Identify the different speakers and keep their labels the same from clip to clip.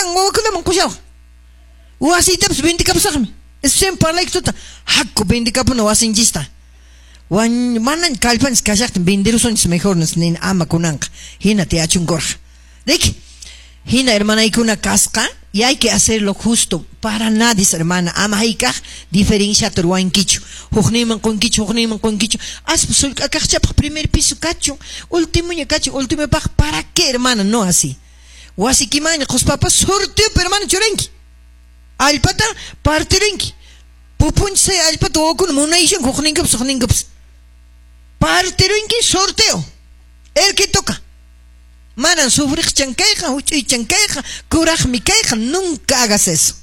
Speaker 1: Sapankan wawakunaman qushawaq. Wasiytapas vendikapusaqmi. Esposaywan parlayku tuta. Haku vendikapuna wasinchista. Wan manan kallpanchis kashaqtin venderusunchis mejor nini ama kunanqa. Hina tiyachunkurqa. Riki? Hina hermanaykuna kasqa y hay que hacerlo justo para nadie, hermana. Ama hayk'aq diferenciata ruwankichu. Hukninman qunkichu, hukninman qunkichu. Aspa sullk'akaqchapaq primer piso kachun, ultimoña kachun, ultimopaq para qué, hermana? No así. Wasikimanña quspapas sorteopi, hermana, churanki. Allpata partirinki. Pupunchay allpata wawakuna munayishanku hukninkupas hukninkupas. Partirinki sorteo. El que toca. Manan sufriqchan kayqa, huch'uychan kayqa, kuraqmi kayqa, nunca hagas eso.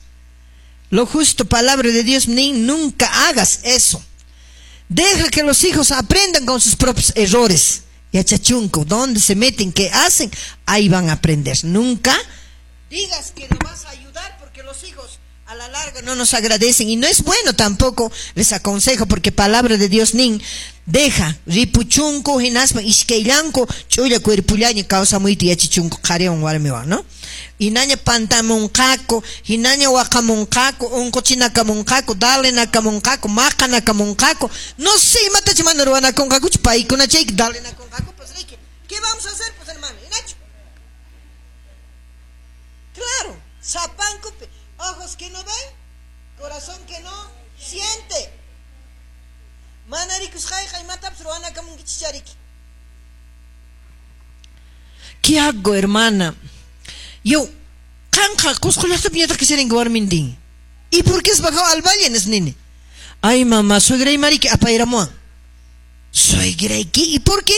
Speaker 1: Lo justo palabra de Dios nin, nunca hagas eso. Deja que los hijos aprendan con sus propios errores. Yachachunku, dónde se meten, qué hacen, ahí van a aprender. Nunca digas que lo vas a ayudar porque los hijos a la larga no nos agradecen y no es bueno tampoco, les aconsejo porque palabra de Dios nin deja ripuchunku hinaspa iskayllanku ch'ulla cuerpullaña kawsamuyta yachichunku qhariwan warmiwan, ¿no? Hinaña pantamunqaku, hinaña waqamunqaku, unquchinakamunqaku, dalenakamunqaku, maqanakamunqaku, no sé imatachu mana ruwanakunqakuchu paykuna chayki dalenakunqaku, pues riki, ¿qué vamos a hacer pues hermano? Hinachu? Claro, sapankupi, ojos que no ven, corazón que no siente. Mana rikusqayqa imatapas ruwanakamunkichis chariki. ¿Qué hago, hermana? Yo, qanqa Cusco llaqtapi ñataq kasharinki warmintin. ¿Y por qué has bajado al valle, nini? Ay, mamá, suegraymariki apayramuwan. Suegrayki, ¿y por qué?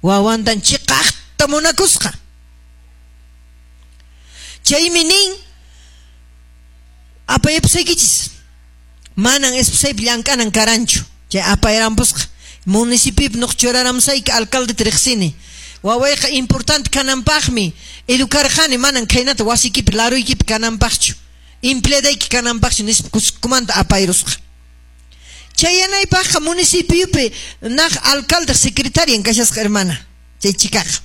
Speaker 1: Wawantan chiqaqta munakusqa. Chaymi nin, apayapusaykichis. Manan esposaypi llank'anan karanchu. Chay apayrampusqa. Municipiopi nuq churaramusayki alcalde riqsini. Wawayqa importante kananpaqmi educarqani manan khaynata wasiykipi laruykipi kananpaqchu. Empleadayki kananpaqchu nispa Cuscomanta apayrusqa. Chayanaypaqqa municipiopi naq alcalde secretarian kashasqa hermana. Chay chikaqa.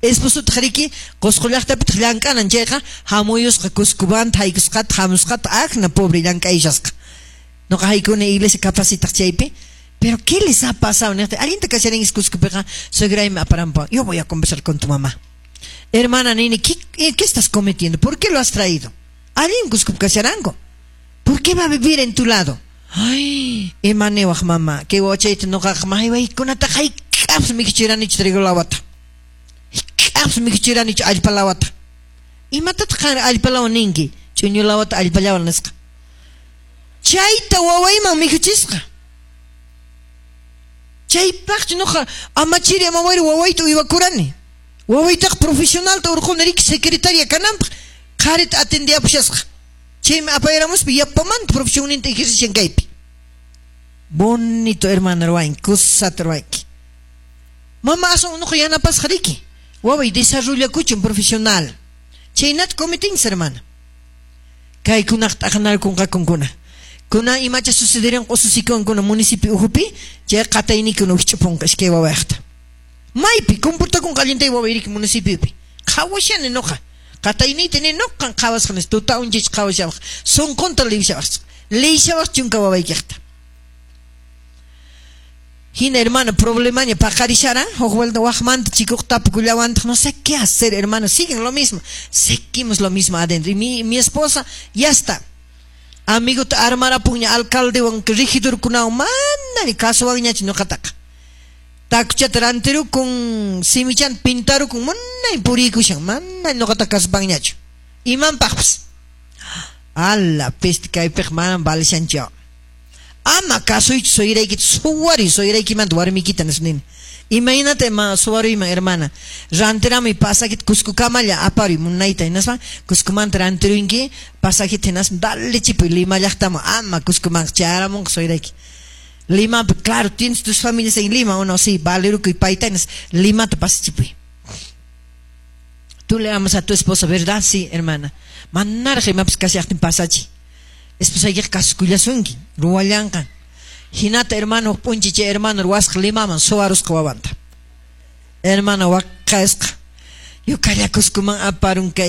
Speaker 1: Esposotaq riki Qusqu llaqtapitaq llank'anan chayqa hamuyusqa Cuscomanta haykusqata hamusqata akna pobre llank'ayshasqa. Nuqa haykuni iglesia capacitaq chaypi. Pero ¿qué les ha pasado? Allinta kasharinki Cuscopiqa suegraymi aparampuwan. Yo voy a conversar con tu mamá. Hermana nini, ¿qué estás cometiendo? ¿Por qué lo has traído? Allin Cuscopi kasharanku. ¿Por qué va a vivir en tu lado? Ay, ima niwaq mamá, kay wawachayta nuqaqa maqaykunata hayk'apis mikhuchiranichu trigo lawata. Hayk'apis mikhuchiranichu allpa lawata. Imatataq qan allpa lawa ninki? Ch'uñu lawata allpa lawa nisqa. Chayta wawayman mikhuchisqa. Chaypaqchu nuqa amachiri amawayri wawayta uywakurani. Wawaytaqa profesionalta urquni riki secretaria kananpaq qharita atendiapushasqa. Chaymi apayramuspa yapamanta profesionninta ejercishan kaypi. Bonito hermana ruwanki, kusata ruwanki. Mama aswan nuqa yanapasqa riki. Waway desarrollakuchun profesional. Chaynata cometinchis hermana. Kaykunaq t'aqanarkunqakunkuna. Kuna imacha sucederin ususikunkuna municipio uhupi, chay qataynikuna wikch'upunqa iskay wawayqta. Maypi comportakunqa allintay wawayriki municipiopi. Qhawashani nuqa. Qatayniyta ni nuqan qhawasqa nis tuta unchich qhawashawaq. Sunqunta liyshawaq. Liyshawaq chunka wawaykiqta. Hina hermano, problemaña paqarisharan, huk vuelta waqmanta chikuq tapukullawantaq, no sé qué hacer, hermano, siguen lo mismo, seguimos lo mismo adentro. Y mi esposa ya está. Amigota armarapuña alcaldewan regidorkunawan mana ni kasuwanñachu ñuqataqa. Takuchata rantirukun, simichanta pintarukun, munay purikushan, mana ñuqata kasupanñachu. Imanpaqpas. Ala, peste kaypiq manam valishanchu. Ama kasuychu sueraykita, suwariy sueraykimanta warmikita nispa nini. Imaynata ima suwaruyman hermana. Rantirami pasajita Cuscokamalla aparuy munayta hinaspa Cuscomanta rantirunki pasajita hinaspa dale chipuy Lima llaqtaman ama Cuscoman chayaramunqa suerayki. Limapi, claro, tienes tus familias en Lima o no, sí, valerukuy payta hinas Limata pasachipuy. Tú le amas a tu esposa, ¿verdad? Sí, hermana. Manaraq imapas kashaqtin pasachi. Esposaykiqa kasukullasunki, ruwallanqa. Hinata hermano p'unchi chay hermano ruwasqa Limaman suwarusqa wawanta. Hermano waqasqa. Yo kalla Cuscoman aparun kay